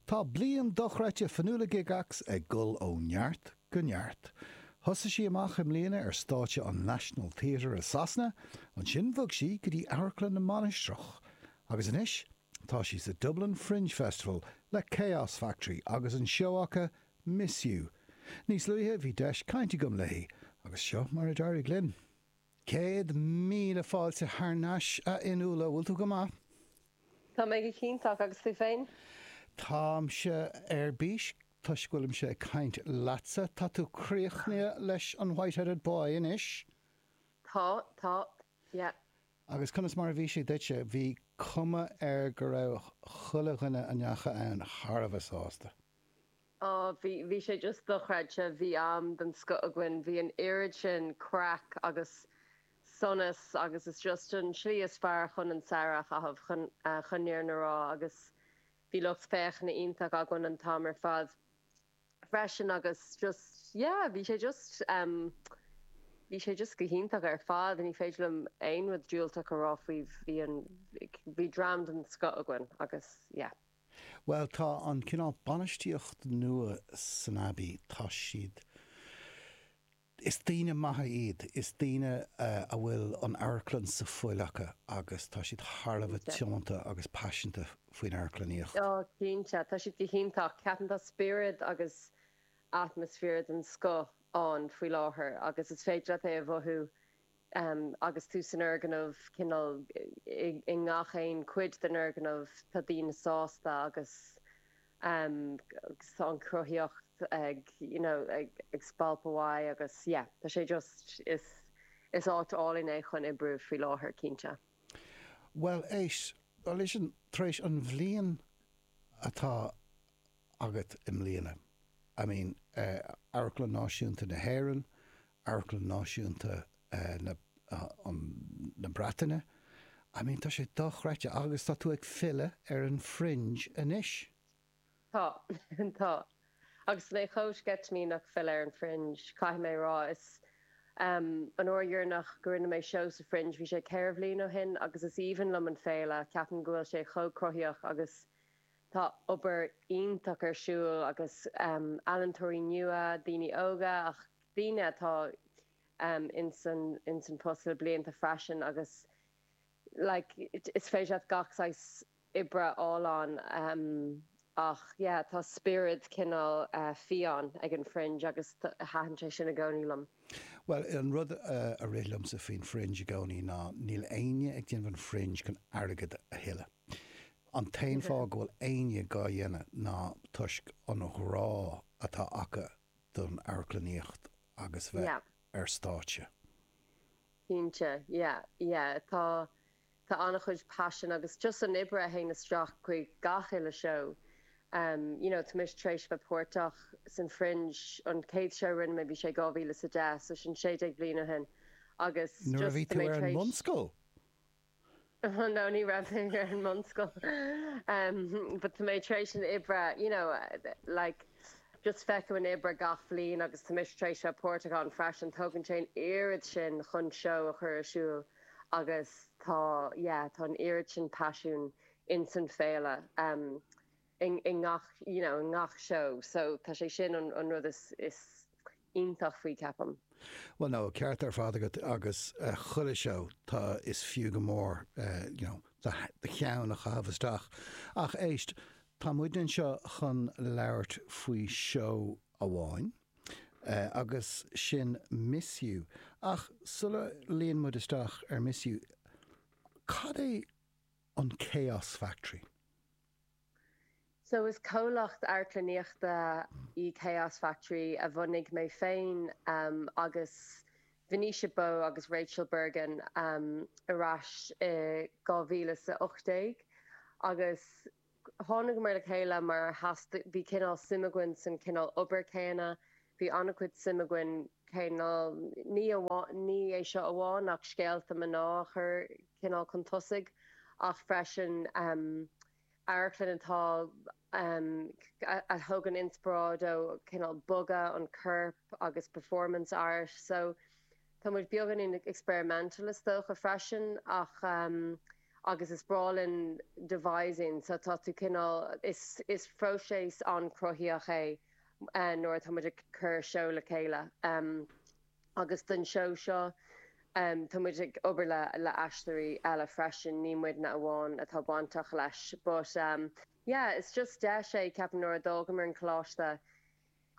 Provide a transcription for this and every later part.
Tá bliain dochreidte Fionnuala Gygax ag dul ó neart go neart. Thosaigh sí amach i mbliana ar stáitse an National Theatre i Sasana, ansin bhog sí go dtí Amharclann na Mainistreach, agus anois tá sí sa Dublin Fringe Festival le Chaos Factory agus an seó acu Miss You. Níos luaithe bhí deis caint agam léi agus seo mar a d'éirigh linn. 100,000 fáilte thar n-ais, a Fhionnuala, bhfuil tú go maith? Tá mé go hiontach, agus tú féin? Táimse ar bís toisc go bhfuilimse ag caint leatsa. Tá tú críochnaithe leis an White Headed Boy anois? Tá, tá, yeah. Agus conas mar a bhí sé duitse? Bhí cuma air go raibh chuile dhuine a ndeachaigh ann thar a bheith sásta. Á, bhí, bhí sé just dochreidte, bhí am den scoth againn, bhí an oiread sin craic agus sonas agus is just an tslí is fearr chun an samhradh a chaitheamh, chun, chun an fhírinne a rá agus bhí lucht féachana iontach againn an t-am ar fad freisin agus just, yeah, bhí sé just, em, bhí sé just go hiontach ar fad, ní féidir liom aon rud diúltach a rá faoi, bhí an, bhí dream den scoth againn agus, yeah. Bhuel, tá an cineál bainistíocht nua san Abbey, tá siad, is daoine maithe iad, is daoine a bhfuil an amharclann sa fuil acu agus tá siad thar a bheith tiomanta agus paiseanta faoin amharclannaíocht. Ó, cinnte, tá siad go hiontach. Ceapaim tá spiorad agus atmaisféar den scoth ann faoi láthair agus is féidir leat é a mhothú Agus tú san fhoirgneamh, cineál i ngach aon cuid den fhoirgneamh, tá daoine sásta agus tá an chruthaíocht ag, you know, ag spalpadh uaidh agus yeah, tá sé just, is is áit álainn é chun oibriú faoi láthair, cinnte. Bhuel, éist, listen, tar éis an bhliain atá agat i mbliana, I mean, Amharclann Náisiúnta na hÉireann, Amharclann Náisiúnta na na Breataine, I mean tá sé dochreidte agus tá tú ag filleadh ar an Fringe anois. Tá, tá. Agus mé chomh sceitimíneach filleadh ar an Fringe, caithfidh mé a rá. Is an uair dheireanach go rinne mé seó sa Fringe bhí sé 4 bhliain ó shin agus is aoibhinn liom an féile, ceapaim go bhfuil sé chomh cruthaíoch agus Tá obair iontach ar siúl agus ealaíontóirí nua, daoine óga ach daoine atá ins an post le blianta freisin agus like is féidir leat gach saghas oibre a fháil ann ach yeah tá spiorad cineál fiáin ag an Fringe agus thaitin sé sin i gcónaí liom. Bhuel, an rud a rith liomsa faoin Fringe i gcónaí ná níl éinne ag déanamh an Fringe chun airgead a thuilleadh. An t-aon fáth go bhfuil éinne dhá dhéanamh ná toisc an ghrá atá acu don amharclannaíocht agus bheith ar stáitse. Cinnte, yeah, yeah. Tá, tá an-chuid paisin agus just an oibre a théann isteach chuig gach uile seó. You know, tá mise tar éis bheith páirteach san Fringe, an chéad seó a rinne mé bhí sé 2010, so sin 16 bliain ó shin agus Nuair a just bhí tá tú mé ar tar an éis. mbunscoil? No, ní raibh mé ar an mbunscoil. But tá mé tar éis an oibre, you know, like, just feicim an oibre gach bhliain agus tá mise tar éis bheith páirteach ann freisin. Tógann sé an oiread sin chun seó a chur ar siúl agus tá, yeah, tá an oiread sin paisiún ins an féile. I ngach, you know, i ngach seó. So tá sé sin an an rud is is iontach faoi, ceapaim. Bhuel no, ceart ar fad agat agus chuile seó tá is fiú go mór you know do do cheann a chaitheamh isteach. Ach éist, tá muidne anseo chun labhairt faoi seó amháin agus sin Miss You. Ach sula luíonn muid isteach ar Miss You, cad é an Chaos Factory? So is comhlacht amharclannaíochta í Chaos Factory a bhunaigh mé féin agus Venetia Bowe agus Rachel Bergin ar ais i 2018 agus tháinigeamar le chéile mar theastaigh, bhí cineál suim againn san cineál obair céanna, bhí an-chuid suim againn cineál, ní amháin, ní é seo amháin ach scéalta mná a chur cineál chun tosaigh ach freisin amharclann atá a thugann inspioráid ó cineál bogadh an corp agus performance art so tá muid beagáinín experimental is dócha freisin ach. Agus is breá linn devising so tá tú cineál, is is próiseas an-chruthaíoch é nuair atá muid ag cur seó le chéile. Agus don seó seo tá muid ag obair le le aisteoirí eile freisin, ní muidne amháin atá bainteach leis. But yeah, is just deis é ceapaim nuair a d'fhágamar an coláiste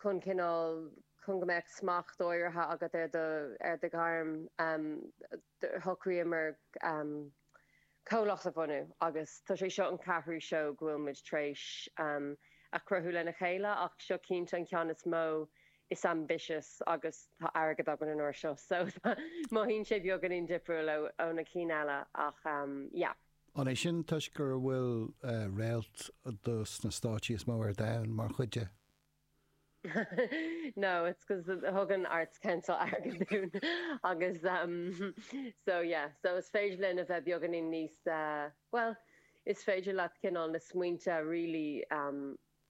chun cineál, chun go mbeadh smacht áirithe agat ar do, ar do ghairm, shocraíomar comhlacht a bhunú agus tá sé seo an ceathrú seó go bhfuil muid tar éis a chruthú lena chéile ach seo cinnte an ceann is mó is ambitious agus tá airgead againn an uair seo so mothaíonn sé beagáinín difriúil ó na cinn eile ach yeah. An é sin toisc go bhfuil réalt dos na stáitsí is mó ar domhan mar chuid de? No, it's 'cause thug an Arts Council airgead dúinn agus um so yeah, so is féidir linn a bheith beagáinín níos uh bhuel, is féidir leat cineál na smaointe really um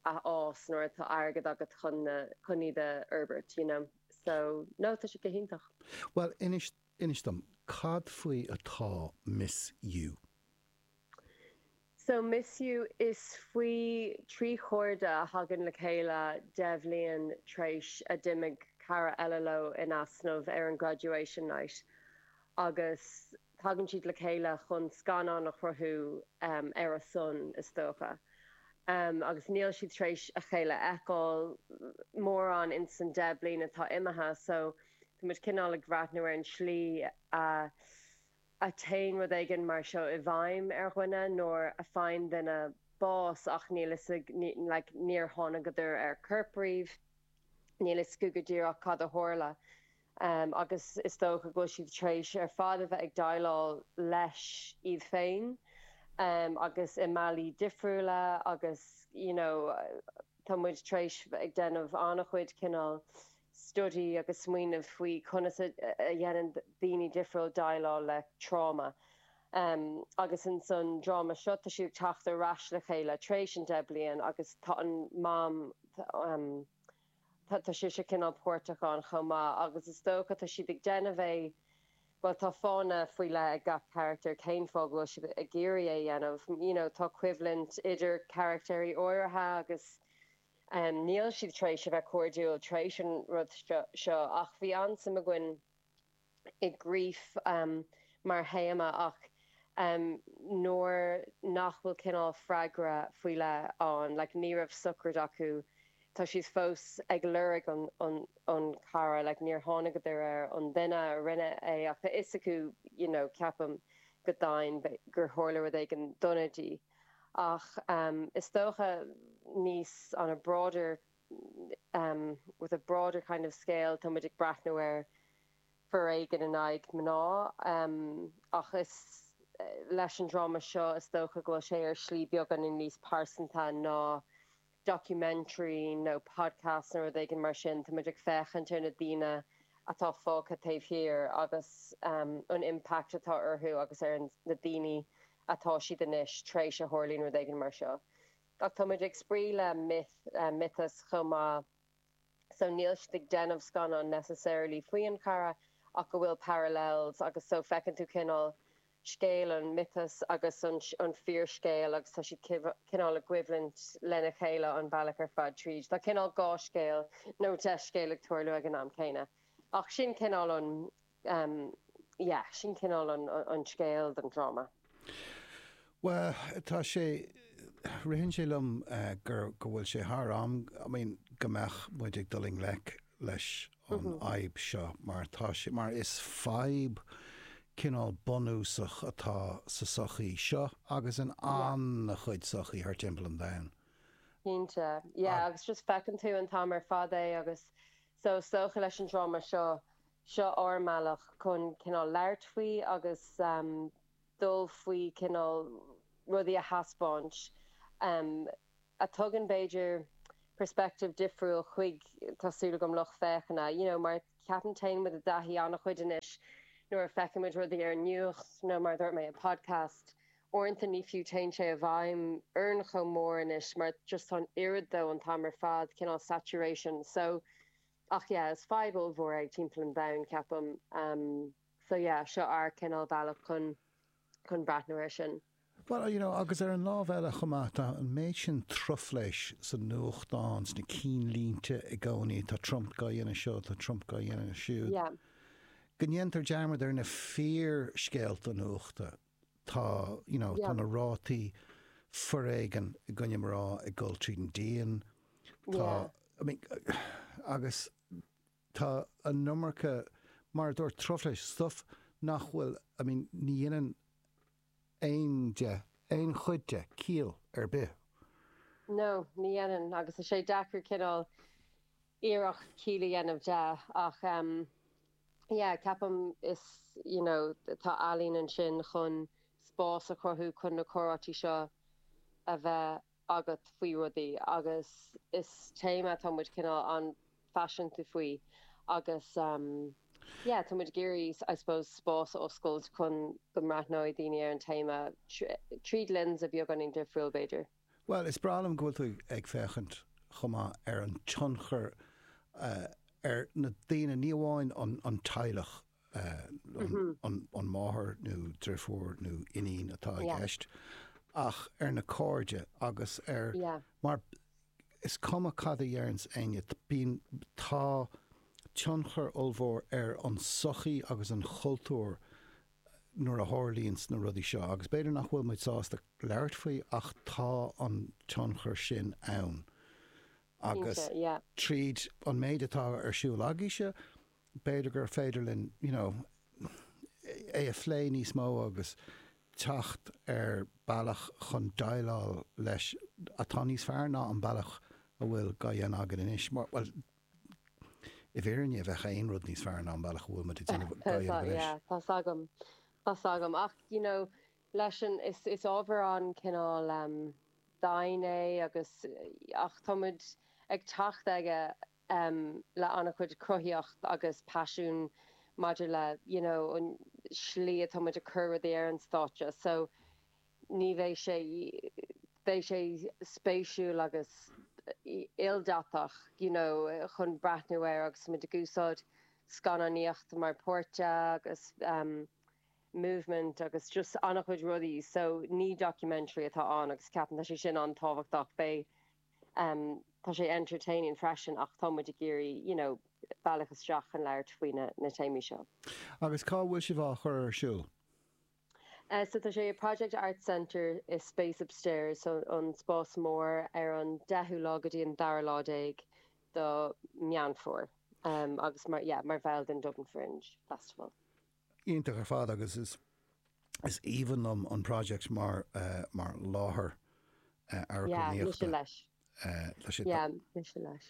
a fhás nuair atá airgead agat chun na, chun iad a fhorbairt, you know. So, no, tá sé go hiontach. Bhuel, inis, inis dom, cad faoi atá Miss You? So Miss You, is faoi thrí chairde a thagann le chéile 10 bhliain tar éis a d'imigh cara eile leo in easnamh ar an graduation night agus tagann siad le chéile chun scannán a chruthú ar a son, is dócha. Agus níl siad tar éis a chéile a fheiceáil mórán ins an 10 bliain atá imithe so tá muid cineál ag breathnú ar an tslí a a téann rud éigin mar seo i bhfeidhm ar dhuine nuair a faigheann duine bás ach níl fhios ag, like, níor tháinigeadar ar corp riamh, níl fhios acu go díreach cad a tharla. Agus is dócha go bhfuil siad tar éis ar fad a bheith ag déileáil leis iad féin agus i mbealaí difriúla agus, you know, tá muid tar éis bheith ag déanamh an-chuid cineál study agus smaoineamh faoi conas a dhéanann daoine difriúil déileáil le tráma. Agus ins an dráma seo tá siad ag teacht ar ais le chéile tar éis an 10 bliain agus tá an mam, tá sise cineál páirteach ann chomh maith agus is dócha tá siad ag déanamh é, bhuel tá fáthanna faoi leith ag gach carachtar cén fáth go bhfuil siad ag iarraidh é a dhéanamh, you know tá coimhlint idir carachtéirí áirithe agus Níl siad tar éis a bheith cairdiúil tar éis an rud seo ach bhí an-suim againn i grief mar théama ach nuair nach bhfuil cineál freagra faoi leith ann, like ní raibh sochraid acu, tá siad fós ag lorg an an cara, like níor tháinigeadar ar an duine a rinne é ach tá fhios acu you know ceapaim go deimhin gur tharla rud éigin dona di. Ach is dócha níos on a broader with a broader kind of scale tá muid ag breathnú ar foréigean in aghaidh mná ach is leis an dráma seo is dócha go bhfuil sé ar shlí beagáinín níos pearsanta ná documentary nó podcast nó rud éigin mar sin, tá muid ag féachaint ar na daoine atá fágtha taobh thiar agus an impact atá orthu agus ar na daoine atá siad anois tar éis a tharlaíonn rud éigin mar seo. Ach tá muid ag spraoi le myth, miotas chomh maith. So níl siad ag déanamh scannán necessarily faoi an chara ach go bhfuil parallels agus so feiceann tú cineál scéal an miotas agus an an fíorscéal agus tá siad cineál i gcoimhlint lena chéile an bealach ar fad tríd. Tá cineál dhá scéal nó 10 scéal ag tarlú ag an am céanna. Ach sin cineál an yeah, sin cineál an an scéal don dráma. Bhuel, tá sé, ritheann sé liom gur, go bhfuil sé thar am, I mean, go mbeadh muid ag dul i ngleic leis an fhadhb seo mar tá sé, mar is fadhb cineál bunúsach atá sa sochaí seo agus in an-chuid sochaí thar timpeall an domhain. Cinnte, yeah, agus just feiceann tú an t-am ar fad é agus so is dócha leis an dráma seo, Seo ár mbealach chun cineál labhairt faoi agus dul faoi cineál rudaí a thaispeáint a tugann b'fhéidir perspective difriúil chuig, tá súil agam, lucht féachana. You know mar ceapaim téann muid i dtaithí an-chuid anois nuair a feiceann muid rudaí ar an nuacht nó mar a dúirt mé i podcast, uaireanta ní fiú téann sé i bhfeidhm orainn chomh mór anois mar just tá an oiread dó an t-am ar fad, cineál saturation. So Ach yeah, is fadhb ollmhór é timpeall an domhain, ceapaim. So yeah, seo ár cineál bealach chun chun breathnú air sin. Bhuel, you know, agus ar an lámh eile chomh maith, tá an méid sin truflais sa nuachtán, sna cinnlínte i gcónaí, tá Trump dhá dhéanamh seo, tá Trump dhá dhéanamh siúd. Yeah. Go ndéantar dearmad ar na fíorscéalta nuachta. Tá, you know, tá na rátaí foréigin i gcoinne mná ag dul tríd an díon. Tá, I mean, agus tá an iomarca, mar a dúirt, truflais, stuff nach bhfuil, I mean, ní dhéanann aon de, aon chuid de, ciall ar bith. No, ní dhéanann, agus tá sé deacair cineál iarracht ciall a dhéanamh de ach em yeah, ceapaim is, you know, tá ealaín ansin chun spás a chruthú chun na comhráití seo a bheith agat faoi rudaí agus is téama atá muid cineál an-phaiseanta faoi agus yeah tá muid ag iarraidh I suppose spás a oscailt chun go mbreathnóidh daoine ar an téama tríd lionsa beagáinín difriúil b'fhéidir. Bhuel, is breá liom go bhfuil tú ag féachaint chomh maith ar an tionchar ar na daoine, ní amháin an teaghlach an máthair nó deirfiúr nó iníon atá i gceist, ach ar na cairde agus ar, mar is cuma cad a dheireanns éinne, bíonn, tá tionchar ollmhór ar an sochaí agus an chultúr nuair a tharlaíonns na rudaí seo agus b'fhéidir nach bhfuil muid sásta labhairt faoi ach tá an tionchar sin ann agus tríd an méid atá ar siúl agaibhse, b'fhéidir gur féidir linn, you know, é a phlé níos mó agus teacht ar bealach chun déileáil leis atá níos fearr ná an bealach a bhfuil dhá dhéanamh againn anois. Mar, bhuel, i bhfírinne, bheadh aon rud níos fearr ná an bealach a bhfuil muid ag déanamh dhá dhéanamh anois. Yeah, tá's agam, tá's agam. Ach, you know, leis an, is, is ábhar an-cineál um, domhain é agus, ach tá muid ag teacht aige le an-chuid cruthaíocht agus paisiún maidir le you know an slí atá muid ag cur rudaí ar an stáitse so ní bheidh sé, beidh sé spéisiúil agus ildathach you know chun breathnú air agus muid ag úsáid scannánaíocht mar páirt de agus movement agus just an-chuid rudaí so ní documentary atá ann agus ceapaim tá sé sin an-tábhachtach beidh Tá sé entertaining freisin ach tá muid ag iarraidh you know bealach isteach chun labhairt faoi na na téamaí seo. Agus cá bhfuil sibh á chur ar siúl? So tá sé i Project Arts Centre i Space Upstairs, so an spás mór ar an deichiú lá go dtí an dara lá déag do Meán Fómhair agus mar yeah mar bhall den Dublin Fringe Festival. Iontach ar fad agus is is aoibhinn liom an Project mar mar láthair Yeah, mise amharclannaíochta. leis. Tá sé Yeah, mise leis.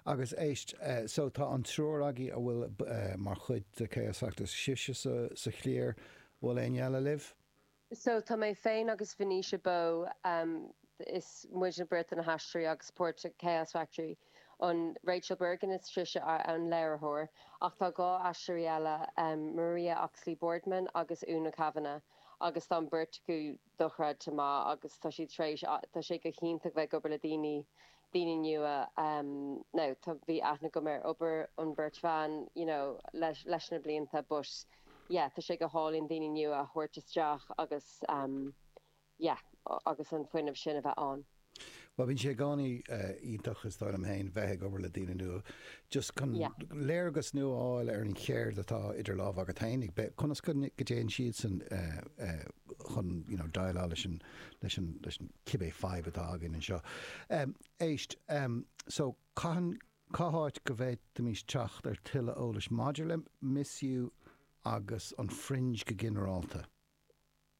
Agus éist, so tá an triúr agaibh a bhfuil mar chuid de Chaos Factory, sibhse sa sa chliar, bhfuil éinne eile libh? So tá mé féin agus Venetia Bowe, is muidne beirt na haisteoirí agus páirt de Chaos Factory. An Rachel Bergin is sise an léiritheoir ach tá 2 aisteoirí eile, Maria Oxley Boardman agus Úna Kavanagh agus tá an beirt acu dochreidte maith agus tá siad tar éis, tá sé go hiontach bheith ag obair le daoine, daoine nua. Now tá, bhí aithne agam ar obair an beirt bhean you know leis, leis na blianta but yeah tá sé go hálainn daoine nua a thabhairt isteach agus yeah agus an fuinneamh sin a bheith ann. Bhuel bíonn sé i gcónaí iontach is dóigh liom féin bheith ag obair le daoine nua just chun léargas nua a fháil ar an cheird atá idir lámha agat féin, conas go dtéann siadsan chun you know déileáil leis an leis an leis an cibé fadhb atá againn anseo. Éist, so cathain Cá háit go bhféadfaimis teacht ar tuilleadh eolais maidir le Miss You agus an Fringe go ginearálta?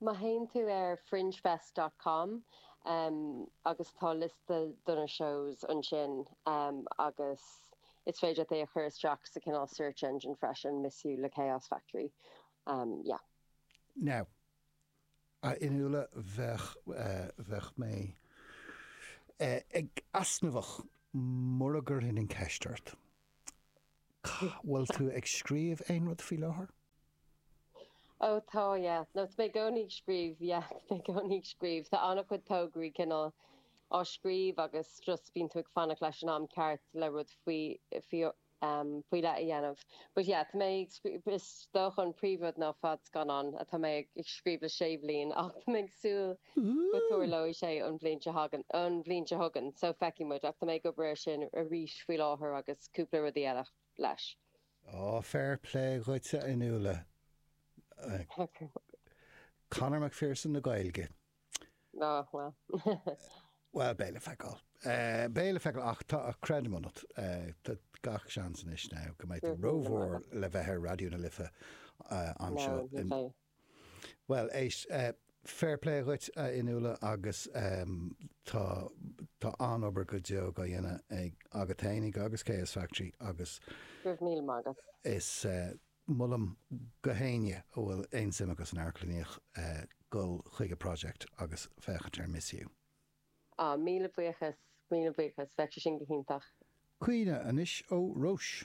Má théann tú ar fringefest dot com agus tá liosta do na shows ansin agus is féidir leat é a chur isteach sa cineál search engine freisin, Miss You le Chaos Factory. Yeah. Now, A Fhionnuala, bheadh, bheadh mé ag easnamhach mura gcuirfinn an ceist ort. Bhfuil tú ag scríobh aon rud faoi láthair? Ó tá, yeah. No, tá mé i gcónaí ag scríobh, yeah, tá mé i gcónaí ag scríobh. Tá an-chuid tograí cineál á scríobh agus just bíonn tú ag fanacht leis an am ceart le rud faoi, faoi. faoi leith a dhéanamh. But yeah, tá mé ag scríobh, is dócha an príomhrud ná fadscannán atá mé ag scríobh le sé bhliain ach tá mé ag súil go dtarlóidh sé an bhliain seo thagann, an bhliain seo chugainn, so feicfidh muid ach tá mé ag obair air sin arís faoi láthair agus cúpla rudaí eile leis. Á, fair play dhuit a Fhionnuala. Conor McPherson na Gaeilge. Á, bhuel. Bhuel, beidh le feiceáil. Beidh le feiceáil ach tá, creidim ionat, tá gach seans anois now go mbeidh tú rómhór le bheith ar Raidió na Life anseo. No, ní bheidh. Bhuel, éist, fair play dhuit, a Fhionnuala, agus tá, tá an-obair go deo á dhéanamh ag, agat fhéinig agus Chaos Factory agus. Go raibh míle maith agat. Is molaim go héinne a bhfuil aon suim acu san amharclannaíocht dul chuig a project agus féachaint ar Miss You. Ah, míle buíochas, míle buíochas, bheadh sé sin go hiontach. Caoineadh anois ó Róis.